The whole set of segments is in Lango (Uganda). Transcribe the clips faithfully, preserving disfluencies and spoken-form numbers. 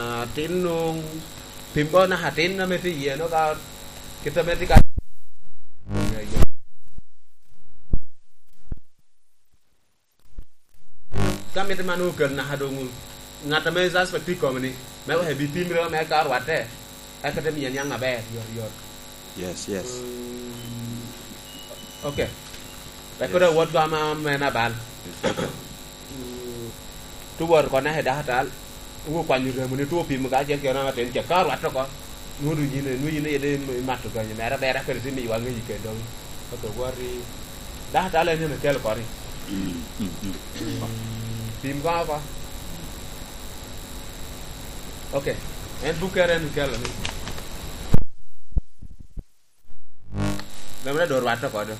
Atin nwoŋo pim ko naka atin ame tye iye, no ka kit ame tye ka. Ka mitte man okel naka doŋ ŋat ame suspect tye i kome-ni, me wek ebi pimere me ka orwatte, eka te miye niaŋ aber, yot, yot. Yes, yes. Mm, ok. Wek kede awot go ama me nabal. Mm, tuwot ko naka i dakatal, iwo kwanyo remo ni two pimo ka acel kede naka atin, ce ka orwatte oko, nwodo yin, nwodo yin aye de imato ganyo mere aber, eka kede tye miyo waŋeyi kede doŋ. Ok, wot i dakatal en ene kelo koni. Mm, mm, mm. Mm, pim koŋ oko. Ok, en bukkere en kelo ni. Remo dok rwatte oko do.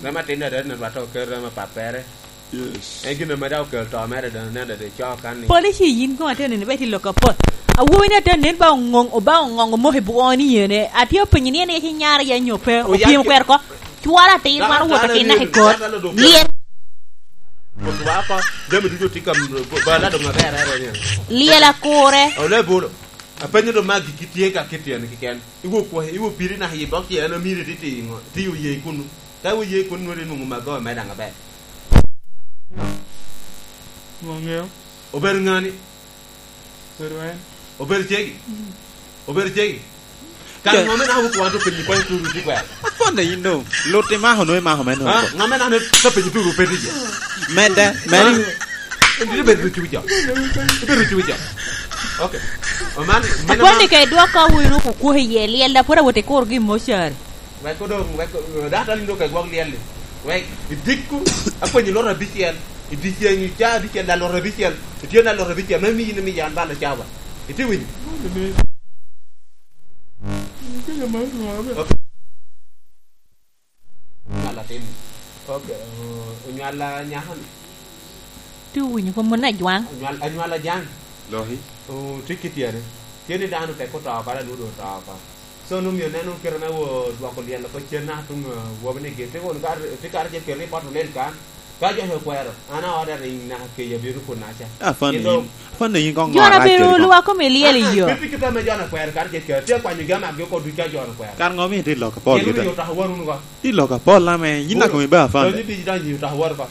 Remo atin dada ni rwatte oko kelo remo apappere. Yes. En gin ame dok okelo to mere dano nen dada ico kan ni. Polici yin koŋ atye neno ibe tye lok apol. Awobi ni atye nen ba oŋoŋ, oba oŋoŋ omoko i bwoni yene. Atye openyo ni en yec inyara ya nyo pe, oya opyem ki- kwero ko. Cwalo atir, da-, twero wot dano atin naka i kot. Dano dok lyel. Kutwa oko, jami ducu tye ka m-, ba-, ba ladong aber, are, are, are. Lyel akure. Ole bolo. Apenyo do magi kitye ka kit en kiken. Iwo kwo, iwo piri naka i bok tye en omiri tye, tye i ŋo? Tye oye kunu. Ka iwo ye kunu, nwongo inwoŋo mago me daŋ aber. Ŋo ŋeo? Obedo ŋani? Obedo en. Obedo cegi? Mm. Obedo cegi? Kan ce- ŋo me naka wok wan to penyi kony turu ti kwero? Apwonne yin no. Lut imako no, imako me no. Ha? Ŋo me naka me ka penyi turu pe tije? Medde, medde. Ha? Indi ibedo rucu jo. Ibedo rucu jo. Ok. Oman, mene apwonne ma- ka idwoko wunu kukuhe iye lyel, da pwod awot ikur gi mochari. Wek odong, wek, data ni dok egwok lyel-li. Wek idikku, akwenyi lworo abicel, i dyeceŋ, i ca abicel, da lworo abicel, itye da lworo abicel, me miyi ni miya an balo cawa. Itye winyo? Ok. Onywal atin. Ok, o-, onywal a nyako-ni. Tye owinyo kop mon ajwaŋ. Anywal, anywal ajaŋ. Loki. O, tye kit yene. Tye ni dano tek oto oko, dano dong oto oko. So, nwoŋo myero nen kite me wo dwoko lyel oko cen naka tuŋ, eh, wobi ni gin. Tye kono ka, tye kare ce kel ripot olel kan. Ka jo okwero, an a order ring naka keye abino kun aca. Ah, funny. Kendo yin. Funny yin kong jo na bedo lwak kome lyel i yo. Ah, ah, pe pi kite me jo na kwero kare ce kel. Tye akwanyo gi amagi oko ducu ka jo na kwero. Kar ŋo mi itye lok apol kite? Kelo ni oto oko won wun oko. Tye lok apol ame, yin naka mi ba funny. Donyo di donyo oto oko won oko.